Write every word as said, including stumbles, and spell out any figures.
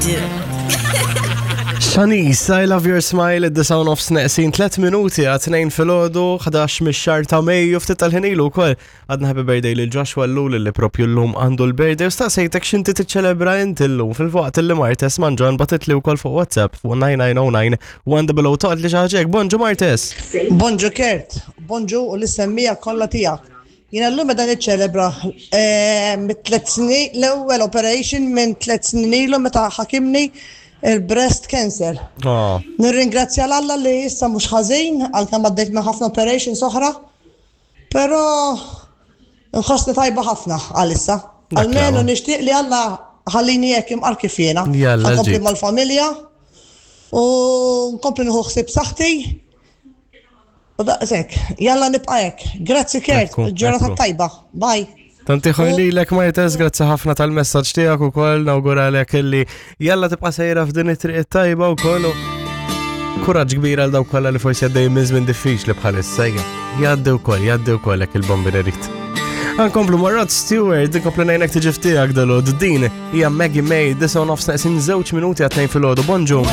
do. Shanice, I Love Your Smile, id-disgħa u nofs neqsin tliet minuti għat-tnejn filgħodu, ħdax mix-xahar ta' Mejju. Ftit tal-ħin ilu wkoll għadna happy birthday lil Joshua Ellul, li propju llum għandu l-birthday, u staqsejtek x'inti tiċċelebra inti llum, fil-waqt li Martes Manġon bagħtitli wkoll fuq WhatsApp fuq nine nine zero nine one double O toqgħod li xi ħaġa hekk. Bonġu, Martes. Bonġu Kurt, bonġu u lis-semmiegħa kollha tiegħek. Jiena llum qed niċċelebra eh, mit tliet snin, l-ewwel operation minn tliet snin ilu meta ħakimni il-breast cancer. Oh. Nirringrazzja 'l Alla li issa mhux ħażin, għalkemm għaddejt minn ħafna operations oħra. Però nħossni tajba ħafna għalissa. Dak Almenu l-ewwel. nixtieq li Alla ħallini hekk imqar kif jiena. Jalla, Ħa nkompli ġid. mal-familja u nkompli nieħu ħsieb saħħti. U daqshekk, jalla nibqa' hekk. Grazzi Kurt, Ekku, ġurnata ekku. tajba. Bye. Tanti lilek, Martes, grazzi ħafna tal-messaġġ tiegħek ukoll, nawguralek illi jalla tibqa' sejra f'din it-triq it-tajba wkoll. U kuraġġ kbir għal dawk kollha li forsi għaddej minn żmien diffiċli bħalissa. Ejja. Jgħaddi wkoll, jgħaddi wkoll hekk il-bombi irid. Nkomplu ma' Rod Stewart, nkomplu ngħinek tiġi f'tiegħek dalgħodu. Din hija Maggie May, disgħa u nofs neqsin żewġ minuti għat-tnejn filgħodu. Bonġu.